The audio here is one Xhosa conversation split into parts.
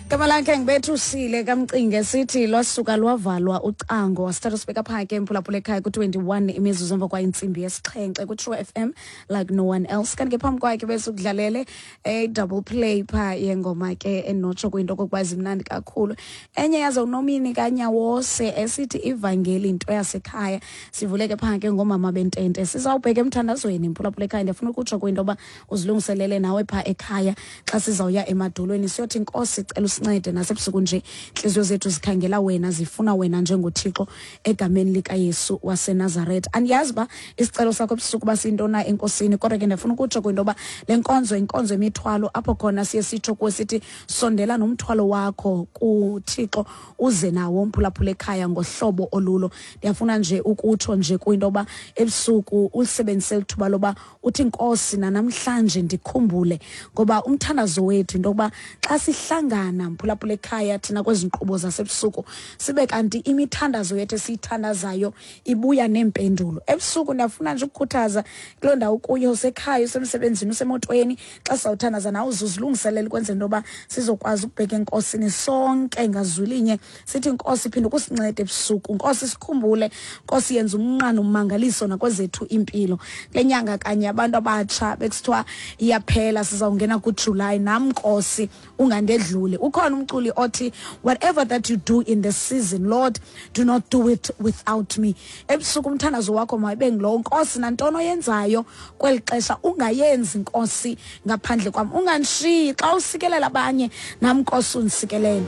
Gama lakhe ngibethusile kamcinge sithi lwasuka lwavalwa ucango wasithatha sibeka phaa ke mphulaphula ekhaya ku-21 imizuzu emva kwayintsimbi yesixhenxe ku-True FM like no one else. Kanti ke phambi kwakhe besukudlalele e-double play phaa yengoma ke enotsho kwinto okokuba zimnandi kakhulu. Enye yazo unomini kanyawose esithi ivangeli into yasekhaya. Sivuleke phaa ke ngoomama bentente. Sizawubheka emthandazweni mphulaphula ekhaya. Ndiyafuna ukutsho kwinto yoba uzilungiselele nawe phaa ekhaya xa sizawuya emadolweni siyothi Nkosi cela usincede nasebusuku nje intliziyo zethu zikhangela wena, zifuna wena njengoThixo egameni likaYesu waseNazaretha. Andiyazi uba isicelo sakho ebusuku uba siyintoni na enkosini, kodwa ke ndiyafuna ukutsho kwinto yoba le nkonzo yinkonzo yemithwalo apho khona siye sitsho kuwe sithi sondela nomthwalo wakho kuThixo uze nawo mphulaphula ekhaya ngohlobo olulo. Ndiyafuna nje ukutsho nje kwinto yoba ebusuku ulisebenzise lithuba loba uthi Nkosi nanamhlanje ndikhumbule, ngoba umthandazo wethu into yokuba xa sihlangana mphulaphula ekhaya thina kwezi nkqubo zasebusuku sibe kanti imithandazo yethu esiyithandazayo ibuya neempendulo. Ebusuku ndiyafuna nje ukukhuthaza kuloo ndawo kuyo, usekhaya, usemsebenzini, usemotweni, xa sizawuthandaza nawe uzuzilungiselela ukwenzela into yoba sizokwazi ukubheka enkosini sonke ngazwilinye sithi Nkosi phinde ukusinceda ebusuku, Nkosi sikhumbule, Nkosi yenza umnqano ummangaliso nakwezethu impilo. Kule nyanga kanye abantu abatsha bekusithiwa iyaphela sizawungena kuJulayi, nam Nkosi ungandedluli. Ukhona umculi othi whatever that you do in the season, Lord, do not do it without me. Ebusuku umthandazo wakho mayibe ngulowo, Nkosi nantoni oyenzayo kweli xesha ungayenzi Nkosi ngaphandle kwam, ungandishiyi. Xa usikelela abanye nam Nkosi undisikelele,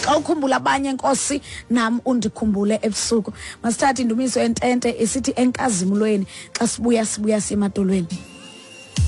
xa ukhumbula abanye Nkosi nam undikhumbule ebusuku. Masithathe indumiso yentente isithi enkazimulweni, xa sibuya sibuya siye emadolweni.